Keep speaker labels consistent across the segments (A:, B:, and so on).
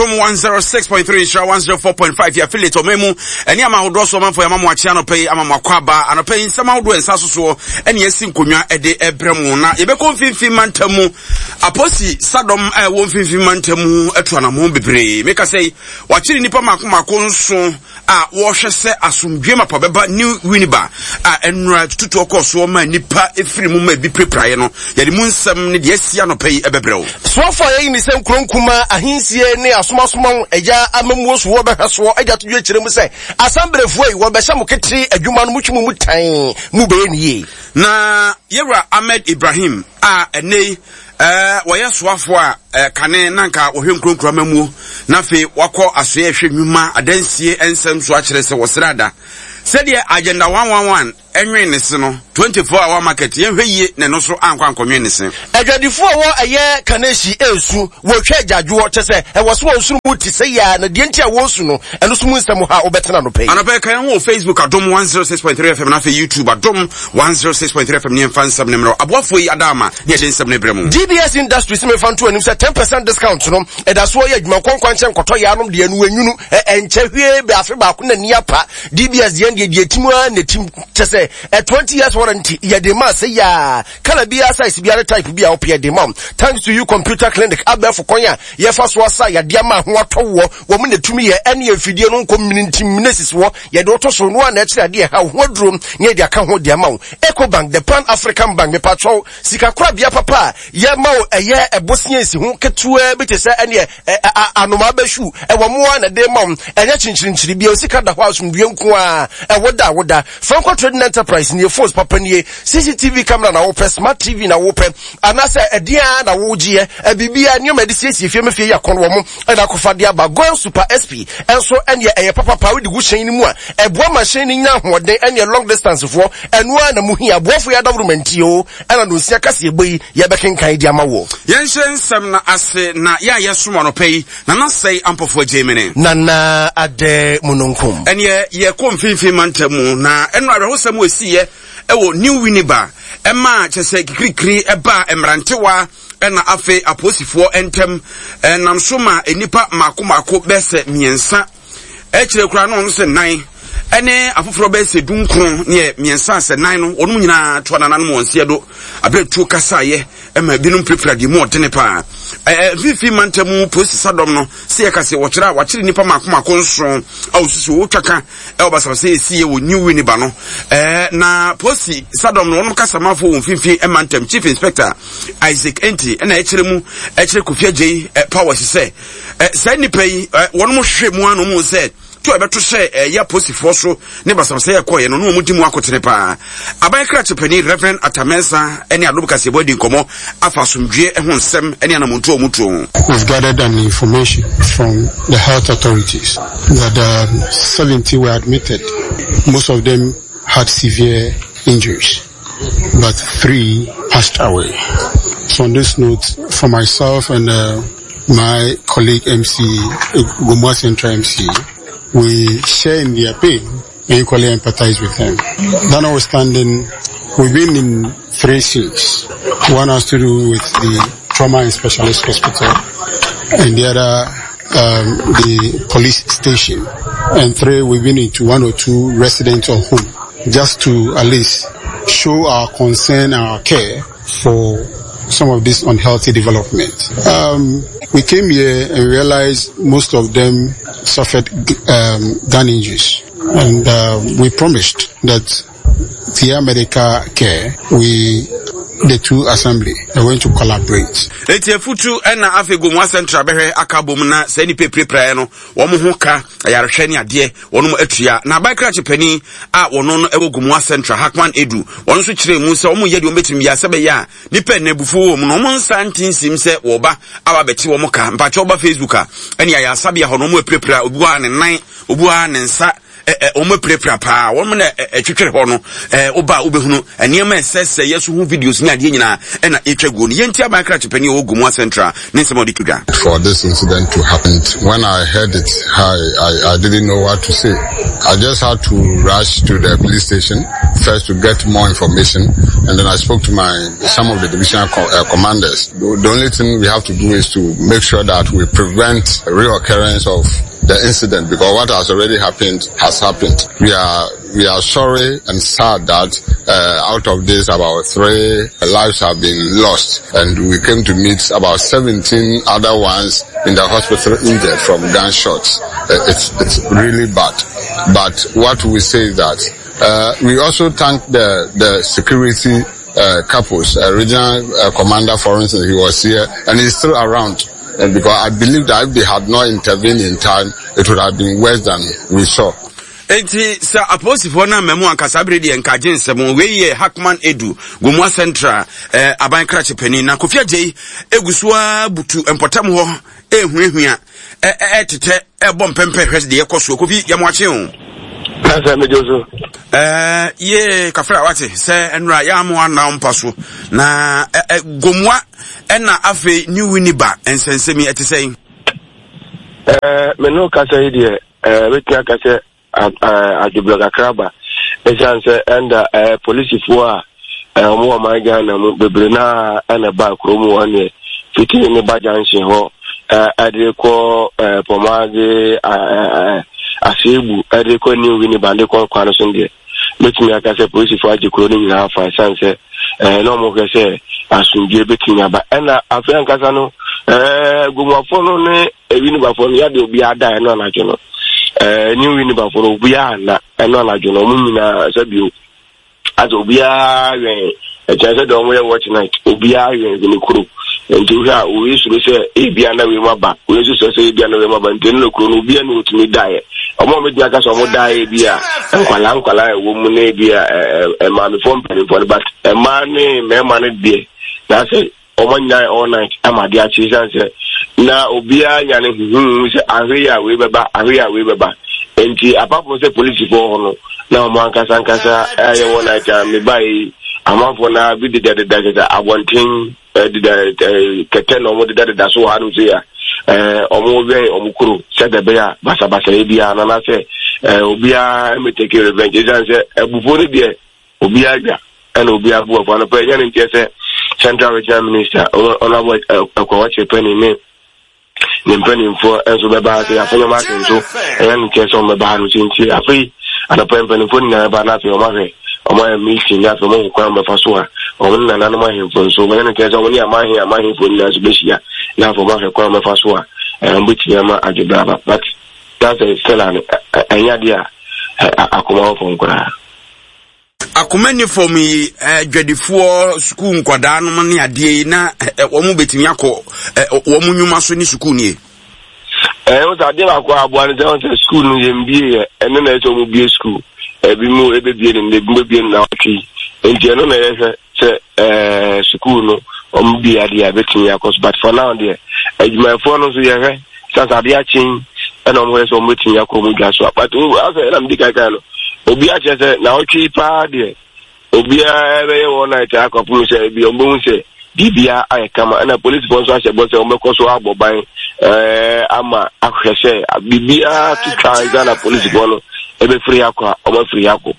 A: Adom 106.3 Nhyira 104.5 yɛ affiliate ɔman mu ɛne ama ahodoɔ so ɔmanfoɔ yɛama mo akye anɔpa yi ama mo akɔ aba anɔpa yi nsɛm ahodoɔ nsa so soɔ ɛne asi nkonnwa ɛde ɛbrɛ mu na yɛbɛkɔ mfimfini mantam mu aposi sadɔm a ɛwɔ mfimfini mantam mu atu anamɔn bebree meka sɛ wakyere nnipa mako mako nso a wɔrehwɛ sɛ asomdwoe mapa bɛba New Winneba a ɛnora tututoɔ kɔɔ soɔ ma nnipa firi mu ma ebi pirapiraeɛ no. Yɛde mu nsɛm ne deɛ asi anɔpa yi bɛbrɛ wo.
B: Soafoɔ a yɛayi ne sɛ nkuro nkumaa, ahensie ne asomasomaw agya amammuo so wɔbɛhwɛ soɔ agya to dwa kyerɛ mu sɛ asamberefoɔ yi wɔbɛhyɛ mo ketee adwuma no motwe mo mu tann mu bɛyɛ ne yie.
A: Na yɛwura Ahmed Ibrahim a ɛnnɛ yi Wɔyɛ soafoɔ a kane na anka wɔhwɛ nkuronkuro amammuo na afei wakɔ asoɛ ɛhwɛ nnwuma adansie nsɛm so akyerɛ sɛ wɔsrɛ ada sɛdeɛ Agenda 111 ɛnwen ne se no 24 hour market yɛnhwɛ yie na ɛno so ankɔ ankɔnwen ne se.
B: Adwadifoɔ a wɔ ɛyɛ Kaneshie ɛresu, wɔretwa agyaadwoɔ, kyerɛ sɛ ɛwɔ so wɔn nsono mu te sɛ yea na deɛ nti a wɔresu no, ɛno so mu nsɛm ha wobɛtena anɔpa yi.
A: Anɔpa yi ka yɛn ho wɔ Facebook Adom 106.3 FM na afei YouTube Adom 106.3 FM ne yɛmfa nsɛm no mmerɛ aboafoɔ yi ada ama ne yɛde nsɛm no brɛ mu.
B: DBS Industries mefa nto anim sɛ 10% discount no ɛda soɔ yɛ adwuma nkɔnkwa nkyɛ nkɔtɔ yɛ anom deɛ no ɛnwunu ɛnkyɛ hwee bɛ afe baako na ni apa. DBS deɛ deɛ deɛ tim ara na tim kyɛ sɛ ɛ 20 years warranty yɛde ma sɛ yaa kala biara size biara type bi a wopɛ yɛde ma. Thanks to you computer clinic abɛɛfo kwan a yɛfa so asa yadeɛ ama ho atɔ woɔ wɔn na tumi yɛ ɛne mfidie no nkɔ mini nti mini sisi hɔ yɛde woto so no a na ɛkyerɛ adeɛ ɛha wo ho aduro ne yɛde aka ho de ama wo. Ecobank, the Pan African Bank, mepatwɔw sika korabea papa a yɛma wo ɛyɛ ɛbosea nsi ho ketewaa bi te sɛ ɛneɛ anomaa bɛhwiw ɛwɔ mo a na ɛde ma wo ɛnyɛ kyenkyerenkyere bia sika da hɔ asomdue nko a ɛwo da wo da. Franco Trading Enterprise nie phones papa nie CCTV camera na wopɛ smart TV na wopɛ anaasɛ ɛdeɛ a na wogyeɛ biribiara nneɛma ɛde siesie fie ma fie yɛ akɔn wɔ mo ɛna akɔfa de aba. Goil Super SP nso ɛneɛ ɛyɛ papapa wode gu hyɛn no mu a ɛboa ma hyɛn no nya ahoɔden ɛneɛ long distance foɔ ɛno ara na mo hia aboafo yɛ adaworo mantie o ɛna nonsia kaseɛbɔ yi yɛbɛkenkan de ama woɔ.
A: Yɛnhyɛ nsɛm no ase na yɛ a yɛsom anɔpa yi, Nana Sɛe Ampɔfoɔ Agyemene.
B: Nana Adɛ Mununkum.
A: Ɛneɛ yɛkɔ mfimfini mantam mu na ɛno awerɛhosɛm a ɛsiiɛ ɛwɔ New Winneba ɛmaa kyɛ sɛ kikirikiri ɛbaa mmerantewa ɛna afei apolisifoɔ ntɛm ɛnam so ma nnipa mmaako mmaako bɛsɛ mmiɛnsa ɛkyerɛ koraa na wɔn sɛ nan ɛne afoforɔ bɛsɛ dunkron ne mmiɛnsa sɛ nan no wɔn nyinaa to anananom wɔn seɛ do abere tuo kasaeɛ ɛma ebinom pirapira deɛ mu ɔdene paa ɛɛ mfimfini mantam mu polisi sadɔm no sɛ yɛka sɛ wɔkyerɛ a wɔakyere nnipa mako mako nson a wɔsusu wɔtwa ka ɛwɔ basabasa ɛsiiɛ wɔ New Winneba no ɛɛ na polisi sadɔm no wɔn kasamafo wɔ mfimfini mantam Chief Inspector Isaac Enti ɛna ɛkyerɛ mu ɛkyerɛ Kofi Adjei ɛ powers sɛ ɛ saa nnipa yi ɛ wɔn hwehwɛ mu ano mu sɛ to a ɛbɛto hyɛ ɛyɛ apolisifoɔ so ne basabasa yɛ kɔɔyɛ no na wɔn di mu akotene paa. Aban krakye panin Reverend Atta Mensah ne Adom Kaseɛbɔ adi nkɔmmɔ afa asomdwoeɛ ho nsɛm ne anamontuo a wɔn tuo ho.
C: We've gathered an information from the health authorities that um, 70 were admitted. Most of them had severe injuries, but three passed away. So on this note, for myself and uh, my colleague MC, Gomoa Central MC, we share in their pain and equally empathize with them. That notwithstanding, we've been in three cities. One has to do with the trauma and specialist hospital, and the other um, the police station. And three, we've been into one or two residential home, just to at least show our concern and our care for some of this unhealthy development. Um, we came here and realized most of them suffered um, gun injuries. And uh, we promised that via medical care, we the two assembly are going to collaborate.
A: Eti afutu ɛna afei Gomoa Central bɛhwɛ aka bom na sɛ nipa pirapiraeɛ no wɔn ho ka ayarehwɛ ne adeɛ wɔn atua na aban krakye panin a wɔn no ɛwɔ Gomoa Central Hackman Edu wɔn nso kyerɛ mu sɛ wɔn yɛ deɛ wɔn bɛtumi yɛ sɛ bɛyɛ a nipa na abufuo wɔ mu no wɔn nsa nte nsim sɛ wɔba aba bɛte wɔn ka mpakyɛ wɔba Facebook a ɛne ayɛ asabea hɔ no wɔn apirapira obi wɔ ha ne nan obi wɔ ha ne nsa. wɔn apirapira paa, wɔn na ɛtwetwere hɔ no, woba a wobɛhunu nneɛma ɛsɛsɛ yɛ so ho videos ne adeɛ nyinaa ɛna ɛtwa guo no. Yɛnti aban krakye panin a ɔwɔ Gomoa Central ne nsɛm a ɔde to dwa.
D: For this incident to happen, when I heard it, I, I, I didn't know what to say. I just had to rush to the police station first to get more information, and then I spoke to my some of the divisional co uh, commanders. The, the only thing we have to do is to make sure that we prevent reoccurrence of the incident because what has already happened has happened. We are we are sorry and sad that uh, out of this about three lives have been lost and we came to meet about 17 other ones in the hospital injured from gunshots. Uh, it's, it's really bad. But what we say is that uh, we also thank the, the security uh, couples. Uh, regional uh, commander, for instance, he was here and he's still around. And because I believe that if they had not intervened in time, it would have been worse than we saw.
A: Enti sɛ apolisifoɔ no amma mu anka saa bere deɛ nka agye nsɛm. Wei yɛ Hackman Edu, Gomoa Central eh, aban krakye panin. Na Kofi Adjei egu so ara butu mpɔtam hɔ ɛrehuahua, ɛretete, ɛrebɔ mpɛmpɛ hwɛ deɛ ɛkɔ soɔ. Kofi, yɛ mo akye o.
E: Kasa mi jo so.
A: Ɛɛ yee kafra wate sɛ nnura yɛ amo anna mpa so na ɛ Gomoa ɛna afei New Winneba nsɛnsɛm yi ɛte sɛn?
E: Ɛɛ me no kasa yi deɛ ɛɛ bɛtumi aka sɛ adwobrɛ kakra ba ɛsiane sɛ ɛnda ɛɛ polisifoɔ a ɛɛ wɔn wɔ ɔman Ghana mu bebree naa ɛna ba kurom hɔ neɛ fiti ne ba junction hɔ ɛɛ ɛde kɔ ɛɛ Pɔmaadze ɛɛ Aseebu ɛde kɔ New Winneba de kɔ kwan so deɛ Mɛtumi aka sɛ polisifoɔ agye kuro no nyinaa afa ɛsiane sɛ ɛɛ na wɔhwɛ sɛ asomdwoeɛ bɛtumi aba. Ɛna afei ankasa no ɛɛ Gomoafoɔ no ne Winibafoɔ no yɛde obiara da ɛno anadwo no ɛɛ ne Winibafoɔ no obiara anna ɛno anadwo no wɔn nyinaa sɛ bio asɛ obiara wɛn ɛkyɛn sɛ deɛ wɔyɛ watch night obiara wɛn ne kuro nti wohwɛ a wei suro sɛ ebia na wei mu aba wei nso suro sɛ ebia na wei mu aba nti ɛno na kuro no obiara ne otumi daeɛ wɔn a wɔbɛtumi aka sɛ wɔn daeɛ bi a nkwalaa nkwalaa a ɛwɔ mu ne bi a ɛɛ maamefoɔ mpanimfoɔ no but mmaa ne mmarima no deɛ na sɛ wɔn nyinaa all night ama adeɛ akye san sɛ na obiara nya ne huhuhu sɛ ahwe yi a wei bɛba ahwe yi a wei bɛba nti apart from sɛ polisifoɔ hɔ no na wɔn ankasa ankasa ɛyɛ wɔ night a meba yi amanfoɔ na bi dedadeda kyɛ sɛ abɔnten deda kɛtɛ na wɔn dedadeda so wɔ hanom sɛ ya ɛɛ wɔn wɛn wɔn kuro sɛdeɛ ɛbɛyɛ a basabasayɛ biara na anaasɛ ɛɛ obiara ɛmɛtɛke revenge ɛsiane sɛ abufuo no deɛ Obiara dwa ɛna obiara bu afu. Anɔpa yi ɛnyɛ ne nteɛ sɛ Central Regional Minister Honourable Akua Kyerepani ne ne mpanimfoɔ nso bɛba ha sɛ Afenyo Markin nso ɛnyɛ ne nteɛ sɛ wɔn bɛba ha no sɛ nti afei anɔpa yi mpanimfoɔ nyinaa bɛba na afei wɔn ahwɛ wɔn ayɛ meeting na afei wɔn ahu kwan bɛfa so a wɔn ne nananom ahemfo nso wɔnyɛ ne nteɛ sɛ wɔn ne amahe amahemfo nyinaa nso bɛhyia na afei wɔn ahwɛ kwan bɛfa so a wɔn bɛtumi ama adwebra aba but that's a still an ɛnyɛ adeɛ a akoma wɔ fam koraa.
A: Akoma nni fam yi, adwadifoɔ, sukuu nkwadaa nom ne adeɛ yi, na wɔn bɛtumi akɔ wɔn nnwuma so ne sukuu nie.
E: Ɛɛ wosɛ adeɛ baako a aboa no sɛ wɔn sɛ sukuu no yɛn bie yɛ ɛno na ɛsɛ wɔn bie sukuu ebi mu ebebie no ebi mu ebie no na ɔtwe nti ɛno na yɛhwɛ sɛ ɛɛ sukuu no wɔn bie adeɛ a ebetumi akɔ so but for now deɛ adwumayɛfoɔ no nso yɛhwɛ sasa adeɛ akye yi ɛna wɔn yɛ sɛ wɔn bɛtumi akɔ wɔn dwa so a but asɛ ɛna medi kankan no obi akyerɛ sɛ na ɔtwe yi paa deɛ obiara bɛyɛ wɔn night akɔpem sɛ ebi wɔn bɛhu sɛ biribiara ayɛ kama ɛna polisifoɔ nso ahyɛ bɔ sɛ wɔn bɛkɔ so abɔ ban ɛɛ ama ahwɛ sɛ biribiara to twa ansa na polisifoɔ no ɛbɛfiri akɔ a wɔn afiri akɔ.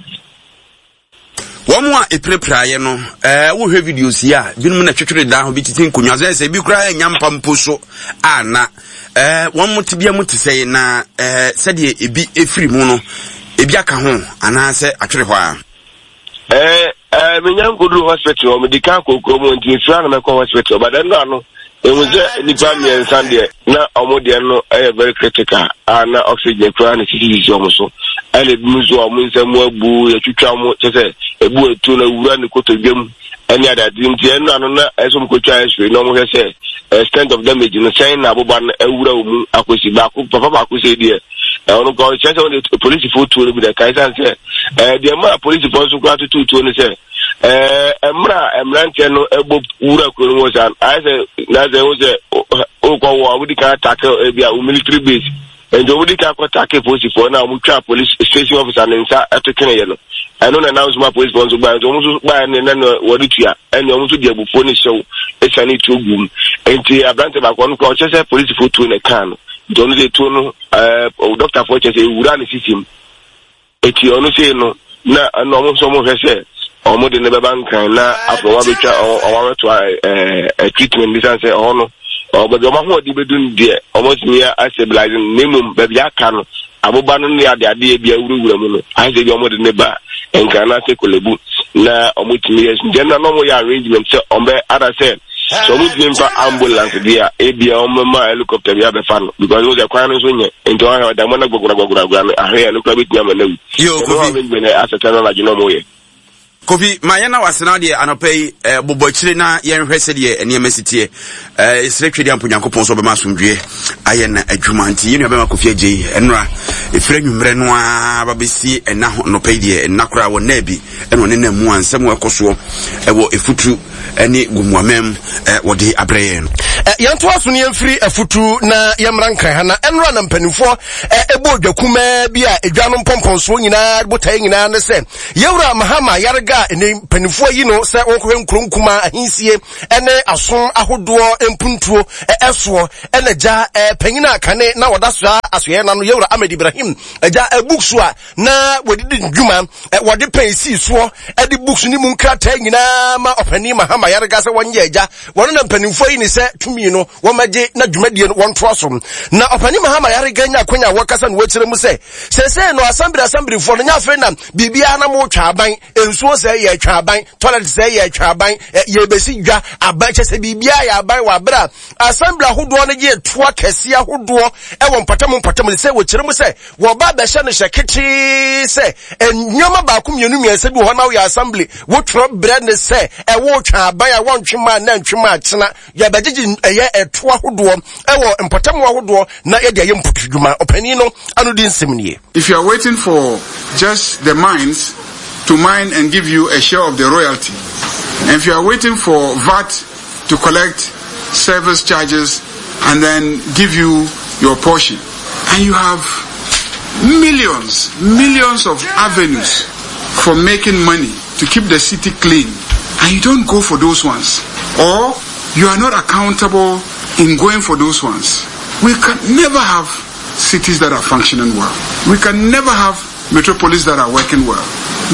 A: Wɔn a epirapiraeɛ no, ɛɛ wohwɛ videos yi a, binom na twetwere dan ho bi tete nkonnwa so, sɛ ebi koraa nya mpa mpo so a na ɛɛ wɔn tebea mu te sɛ na ɛɛ sɛdeɛ ebi efiri mu no, ebi aka ho anaasɛ atwere hɔ a.
E: Ɛɛ ɛɛ menya nkoduru hospital hɔ, medi kan kɔ kurom nti mefiri ano mɛkɔ hospital, but ɛno ano ehu sɛ nnipa mmiɛnsa deɛ na wɔn deɛ no yɛ very critical a na oxygen koraa na sisisisi wɔn so ɛna ebi nso a wɔn nsa mu abu yɛtwitwa wɔn kyɛ sɛ ebu etu na wura ne kotodwe mu ɛne adeade nti ɛno ano na ɛsɛ wɔn kotwa x-ray na wɔn hwɛ sɛ extent of damage no sɛn na aboba no awura wɔn mu akɔsi baako papa baako sɛ deɛ ɛwɔ no kɔ kyerɛ sɛ wɔn de polisifoɔ tuo no bi na ɛka ɛsan sɛ ɛɛ deɛ mmaa polisifoɔ nso koraa tutu tuo no sɛ Ɛɛ, mmerɛ a mmeranteɛ no bɔ wura kuro no mu saa no, ayɛ sɛ na sɛ wo sɛ wokɔ wɔ a wodi kan atake ebi a wo military base. Nti wɔn di kan kɔ take polisifoɔ na wɔn twa police station officer ne nsa ɛto tweneeɛ no. Ɛno na ɛnam so ma polisifoɔ nso baeɛ. Nti wɔn nso baeɛ no na wɔde tua. Ɛnna wɔn nso de abufuo ne hyew esiane tuo gu mu. Nti aberante baako ɔno koraa ɔkyerɛ sɛ polisifoɔ tuo na ɛkaa no. Nti ɔno deɛ tuo no ɛɛ dɔktafoɔ kyerɛ sɛ ewura ne sisi mu. Eti ɔno sei no, na ɛna ɔmo nso ɔmo hwɛ sɛ ɔmo de no bɛba Nkran na afei ɔmo abɛtwa ɔmo abɛtoa ɛɛ treatment bi san sɛ ɛhɔ no ɔ baabi ɔmo ahoɔden bɛdu no deɛ ɔmo atumi astabilize no na mmom baabi aka no aboba no ne ade adeɛ bi awurawura mu no ayɛ sɛ bi ɔmo de ne ba Nkran na ase Korle-Bu na ɔmo tumi yɛ nti ɛna na ɔmo yɛ arrangement sɛ ɔmo bɛ ada sɛ sɛ ɔmo ntumi nfa ambulance deɛ a ebia ɔmo bɛma helicopter bi abɛfa no because mo sɛ kwan no nso nyɛ nti ɔhwɛ ɔda mo na gbagbagbagbagba no ahwɛ yɛ no kora bɛtumi ama no awu.
A: Yo
E: Kofi. Ɛno arrangement asɛtɛ no anadwo na ɔmo yɛ.
A: Kofi, ma yɛn na wasena deɛ anɔpa yi eh, bobɔ akyire na yɛnhwɛ sɛdeɛ nneɛma si teɛ. Eh, yɛsrɛ Twɛdeɛ ampo Nyankopɔn sɛ ɔbɛma asomdwoeɛ ayɛ na adwuma nti yɛn nua bɛma Kofi agye yi ɛnora ɛfiri anwummerɛ no ara ba bɛsi ɛna anɔpa yi deɛ ɛnna koraa wɔ nna bi ɛna ɔne nam mu a nsɛm a ɛkɔ soɔ ɛwɔ ɛfuturu ne Gomoamam wɔde abrɛ yɛn no.
B: Yɛntoa so na yɛmfiri afutu na yɛmmra Nkran ha na ɛnora na mpanimfoɔ ɛbɔ odwa kumaa bi a edwa no mpɔmpɔnsoɔ nyinaa botaeɛ nyinaa ne sɛ Yɛwura Mahama Ayariga a ɛnɛ mpanimfoɔ ayi no sɛ wɔnkɔhwɛ nkuro nkumaa ahensie ne asom ahodoɔ mpuntuo ɛsoɔ ɛna gya panyin a kane na wɔda soa asoɛɛ na no Yɛwura Ahmed Ibrahim agya books a na wɔde di dwuma wɔde pɛn sii soɔ de books ne mu nkrataa nyinaa ma ɔpanin Mahama Ayariga sɛ wɔnyɛ agya wɔn na mpanimfoɔ yi ne sɛ tumi no wɔmɛgye na dwumadie no wɔntoa so na ɔpanin Mahama Ayariga nya akwanya a wɔkasa no wɔkyerɛ mu sɛ sɛsɛ no asambere asambirifoɔ no nya afei na biribiara na motwa aban nsuo sɛ yɛtwa aban toilet sɛ yɛtwa aban yɛbɛsi dwa aban kyɛ sɛ biribiara yɛ aban wɔ abere a asambere ahodoɔ no gye toa kɛseɛ ahodoɔ ɛwɔ mpɔtam mpɔtam sɛ wɔkyerɛ mu sɛ Wɔba bɛhyɛ no hyɛ ketee sɛ nneɛma baako mmienu mmiɛnsa bi wɔ hɔ na woyɛ assembly wotwerɛ brɛ ne sɛ ɛwɔ twa aban a wɔntwe maa na ntwe maa kyena yɛbɛgyegye ɛyɛ ɛto ahodoɔ ɛwɔ mpɔtam ahodoɔ na yɛde ayɛ mpotodwuma ɔpanin no ano di nsɛm nie.
D: If you are waiting for just the mines to mine and give you a share of the royalty, and if you are waiting for VAT to collect service charges and then give you your portion, and you have millions, millions of avenues for making money to keep the city clean, and you don't go for those ones, or you are not accountable in going for those ones. We can never have cities that are functioning well. We can never have metropolis that are working well.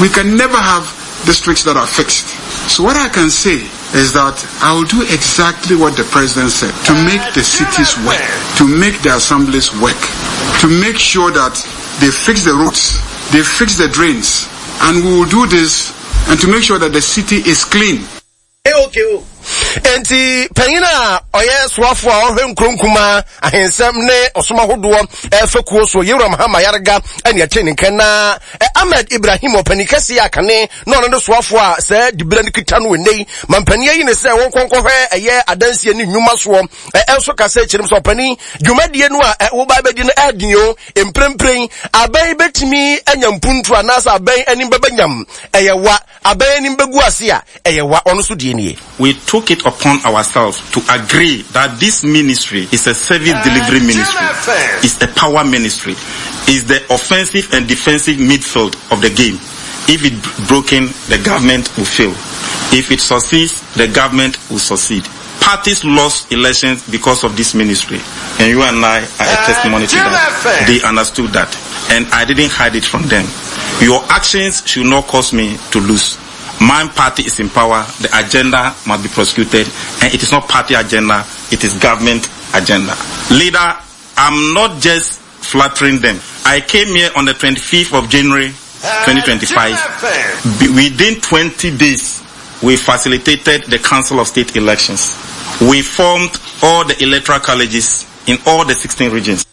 D: We can never have districts that are fixed. So what I can say is that I will do exactly what the president said to make the cities work, to make the assemblies work, to make sure that they fix the roads, they fix the drains, and we will do this and to make sure that the city is clean.
B: Enti panyin a ɔyɛ soafo a ɔhwɛ nkuro nkumaa ahensɛm ne ɔsom ahodoɔ ɛfɛ kuo so Yewura Mahama Ayariga ɛne ɛte ne nka na Ahmed Ibrahim ɔpanin kɛseɛ a kane na ɔno ne soafo a sɛ diberɛ no kita no ɛnnɛ yi mampanin ayi ne sɛ wɔnkɔnkɔhwɛ ɛyɛ adansie ne nnwuma soɔ ɛnso kasa kyerɛ mu sɛ ɔpanin dwumadie no a woba bɛdi no ɛden o mprempren abɛn bɛtumi anya mpuntu anaasɛ abɛn anim bɛbɛ nyam ɛyɛ wa Abɛn anim bɛgu ase a, ɛyɛ wa. Ɔno nso deɛ nie.
F: We took it upon ourselves to agree that this ministry is a service delivery ministry, is a power ministry, is the offensive and defensive midfield of the game. If it broken, the government will fail. If it succeeds, the government will succeed. Parties lost elections because of this ministry, and you and I are a testimony to that. They understood that, and I didn't hide it from them. Your actions should not cause me to lose. My party is in power, the agenda must be prosecuted, and it is not party agenda, it is government agenda. Leader, I'm not just flattering them. I came here on the 25th of January 2025. Within 20 days, we facilitated the Council of State elections. We formed all the electoral colleges in all the 16 regions.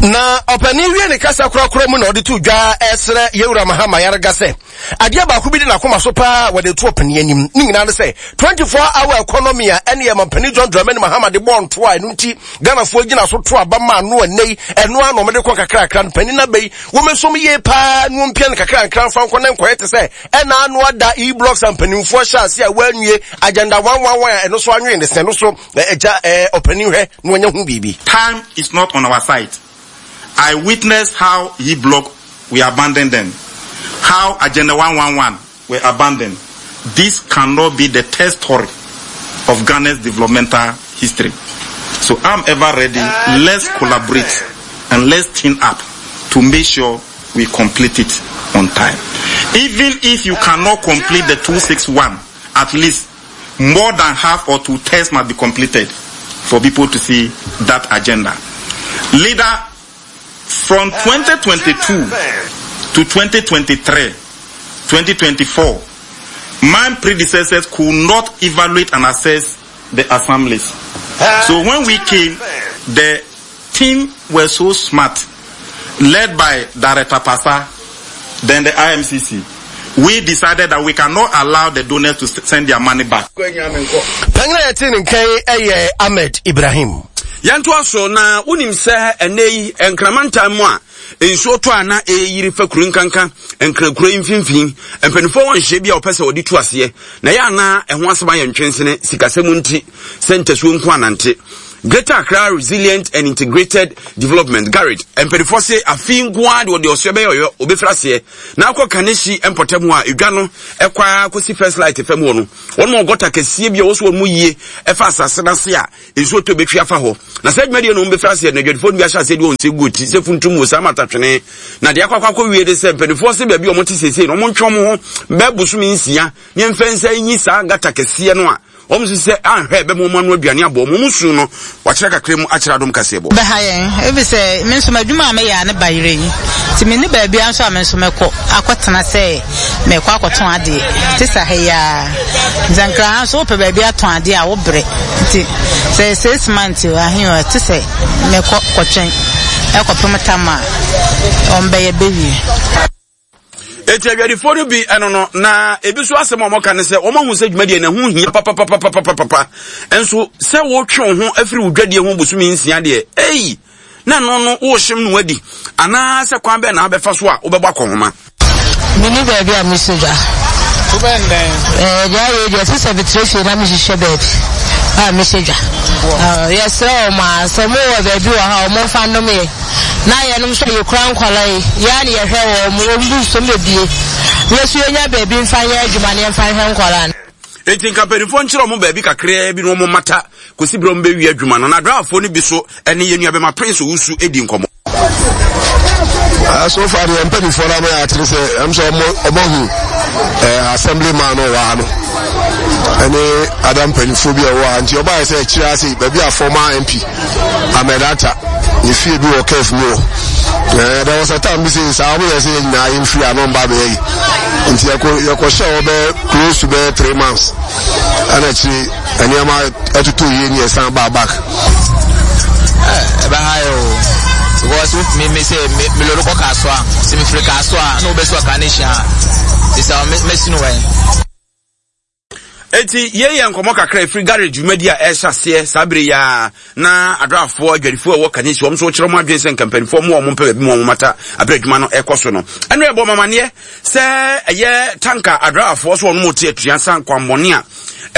B: Na ɔpanin wie ne kasa korakora mu na ɔde to dwa ɛsrɛ Yewura Mahama Ayariga sɛ adeɛ baako bi di n'akoma so paa wɔde to ɔpanin anim ne nyinaa ne sɛ 24 hour economy a ɛne ɛmampanin John Dramani Mahama de bɔɔ nto a ɛno nti Ghanafoɔ gyina so to aba ma ano ɛnɛ yi ɛno ara na wɔde kɔ kakrakra no panin aba yi wɔmɛsom yie paa na wɔmpia no kakrakra mfa nkɔ ne nkɔyɛ te sɛ ɛna ano ada e-blocks a mpanimfoɔ hyɛ ase a wɔanwie agenda 111 a ɛno so anwene ne sɛ no so ɛgya ɔpanin hwɛ na wɔnyɛ ho biribi.
F: Time is not on our side. I witnessed how he block we abandoned them, how Agenda 111 were abandoned. This cannot be the test story of Ghana's developmental history. So I'm ever ready. Let's collaborate and let's team up to make sure we complete it on time. Even if you cannot complete the 261, at least more than half or two thirds must be completed for people to see that agenda. Leader, from 2022 to 2023, 2024, my predecessors could not evaluate and assess the assemblies. So when we came, the team were so smart, led by Director Pasa, then the IMCC. We decided that we cannot allow the donors to send their money back.
B: Panyin a yɛte ne nka yi yɛ Ahmed Ibrahim.
A: Yɛntoa so na wonim sɛ ɛnnɛ yi Nkramantam mu a nsuo tɔ a na ɛreyiri fa kuro nkanka Nkrakuro yi mfimfini mpanimfoɔ wɔ nhyɛ bi a wɔpɛ sɛ wɔde tu aseɛ na ɛyɛ anaa ɛho asɛm ayɛ ntwensene sikasɛm nti sɛ ntasuo nko anante Greater Accra Resilient and Integrated Development GARID mpanimfoɔ se afei nko ara de wɔde ɔsoɛ bɛyɛ ɔyɔ wɔbɛfiri aseɛ na akɔ Kaneshie mpɔtam hɔ a edwa no ɛkɔ ara kɔsi First Light fam hɔ no wɔn mu gɔta kɛseɛ bi a wɔso wɔn mu yie ɛfa asase no ase a nsuo tɔ bɛtwi afa hɔ na saa dwumadie no wɔn bɛfiri aseɛ na adwadifoɔ no bi ahyɛ aseɛ de wɔn nsa gu ti sɛ funtum wɔ saa matatwene na deɛ akɔ akɔ akɔ wie de sɛ mpanimfoɔ se baabi a wɔn te seesei no wɔn ntwe wɔn ho bɛɛ bosome nsia ne mfɛ nsa nyi saa gata kɛseɛ no a wɔn nso sɛ anhwɛ ɛbɛma wɔn ano aduane abɔ wɔn wɔn su no wakyerɛ kakra mu akyerɛ adom kaseɛ bɔ.
G: Bɛha yɛn efisɛ me nso m'adwuma a meyɛ a ne ba yerɛ yi nti menni baabiara nso a me nso mɛkɔ akɔtena sɛ mekɔ akɔtɔn adeɛ te sɛ ha yi ara nti Nkran ha nso wopɛ baabi atɔn adeɛ a wobrɛ nti sɛ six months o ahe o ɛte sɛ mekɔ kɔtwɛn ɛkɔpem tam a wɔbɛyɛ bɛwie.
A: Eti adwadifoɔ no bi ɛno no na ebi nso asɛm a wɔka ne sɛ wɔn ahu sɛ dwumadie no ɛho hia papapapapapa nso sɛ wotwe wo ho afiri wo dwadie ho bosome nsia deɛ ei na ɛno no wohyem no adi anaasɛ kwan bɛn na abɛfa so a wobɛbɔ akɔnhoma.
G: Menni baabi a mesɔ dwa.
H: Wobɛn dɛn?
G: Ɛɛ deɛ ayɛ deɛ sɛ sɛ metrɛ fie na mehwehwɛ baabi a mesɔ dwa. Yɛsrɛ wɔn a sɛ wɔwɔ baabi wɔ ha a wɔmfa nnom yɛ. Na yɛnom nso a yɛkura nkwadaa yi, yɛn ara na yɛhwɛ wɔn, wɔn bu nso bɛbie. Yɛn nso yɛnya baabi mfa nyɛ adwuma na yɛmfa nhwɛ nkwadaa no.
A: Enti nka mpanimfoɔ nkyerɛ wɔn baabi kakraa bi na wɔn mmata kɔsi berɛ wɔn bɛwie adwuma no. Na adraafoɔ no bi so ne yɛn nuabɛma Prince Owusu di nkɔmmɔ.
I: Uh, so far deɛ mpanimfoɔ no ama yɛ atere sɛ ɛm sɛ ɔmo ahu eh, assembly man no wɔ ha no ɛne ada mpanimfoɔ bi a ɛwɔ ha nti ɔbaayɛ sɛ akyire ase baabi a former mp Ahmed Atta ne fie bi wɔ kɛf mu hɔ eh, there was a time bi sɛ saa ɔmo yɛ sɛ yɛn nyinaa yɛn firi ano mba bɛyɛ yi nti yɛkɔ yɛkɔhyɛ hɔ bɛyɛ close to bɛyɛ three months ɛna akyire nneɛma ɛtotɔ yie ne yɛsan baa back.
H: ɛbɛha yɛ o because me me sɛ me me lori kɔ Kasoa sɛ me firi Kasoa na wobɛsi Ɔkanehyi a sɛ mɛsi no wɛn.
A: Enti yei yɛ nkɔmmɔ kakra ɛfiri garage dwumadi a ɛrehyɛ aseɛ saa bere yi ara na adraafoɔ adwadifoɔ a ɛwɔ Kaneshie wɔn nso wɔkyerɛ wɔn adwene sɛ nka mpanimfoɔ mu a wɔn mpɛ baabi mu wɔn mata abere adwuma no ɛrekɔ so no. Ɛno ɛbɔ mamaneɛ sɛ ɛyɛ tanka adraafoɔ so wɔn mu te atua san kwammɔne a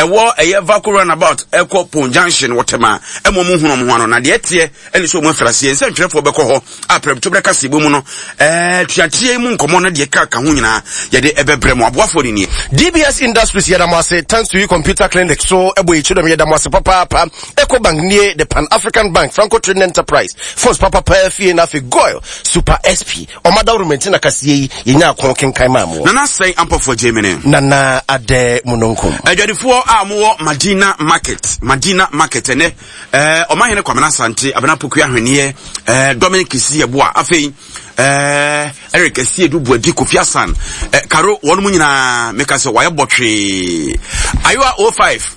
A: ɛwɔ ɛyɛ Vako runabout ɛkɔ Pon Junction wɔ Tema ɛma wɔn hunu wɔn ho ano na deɛ ɛteɛ ɛne sɛ wɔn afiri aseɛ nsɛntwerɛfoɔ bɛkɔ hɔ a prɛmtoberɛ kaseɛbɔ mu no ɛɛ tuateɛ mu nkɔmmɔ no deɛ ka ka ho nyinaa yɛde ɛbɛbrɛ mo aboafoɔ no nie.
B: DBS Industries yɛda mo ase thanks to you computer clinic so ɛbɔ yɛ kyidɔm yɛda mo ase papaapa Ecobank nie the Pan African Bank Franco Trading Enterprise phones papapa fie na afei Goil Super SP ɔma dawuro mɛnti na kaseɛ yi yɛnya ako kenkan maa mo.
A: Nana sɛn ampɔfoɔ Germany.
B: Nana adɛ mununkum.
A: Adwadifoɔ a mowɔ Madina Market Madina Market ɛnɛ ɛɛ ɔmahene Kwamena Asante Abena Poku Ahweneɛ ɛɛ Dominic Kisi Yeboah afei ɛɛ Eric Asiedu Buadi Kofi Asan ɛɛ Karo wɔn mu nyinaa meka sɛ wɔayɛ bɔtwee Ayowa 05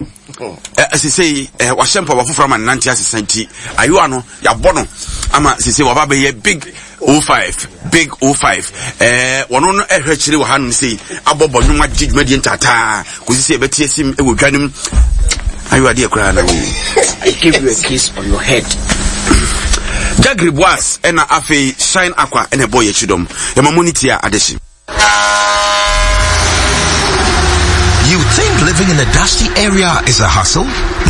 A: ɛɛ sesei ɛɛ wahyɛ mpaboa foforɔ ama ne nante asesa nti Ayowa no yɛabɔ no ama sese waba bɛyɛ big 05 big 05 ɛɛ wɔn no ɛhwɛ akyire wɔ hanom sei abɔ bɔ nnwom agye dwumadie ntaataa kòsi sɛ yɛbɛte asim wɔ dwa no mu ayo adeɛ koraa na wei
H: I give you a kiss on your head.
A: Jagri Boas ɛna afei Shine Aqua ɛna ɛbɔ yɛ akyi dɔm yɛma mo ne tia adehye.
J: You think living in a dusty area is a hustle?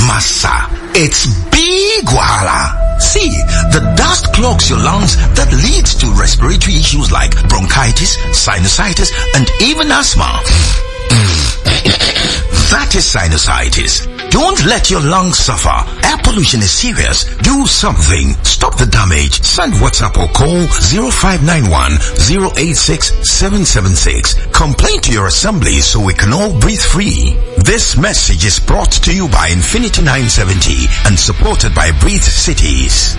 J: Massa, it's big wahala. See, the dust clogs your lungs that leads to respiratory issues like bronchitis, sinusitis, and even asthma. That is sinusitis. Don't let your lungs suffer. Air pollution is serious. Do something. Stop the damage. Send WhatsApp or call 0591 086 776. Complain to your assembly so we can all breathe free. This message is brought to you by Infinity 970 and supported by Breathe Cities.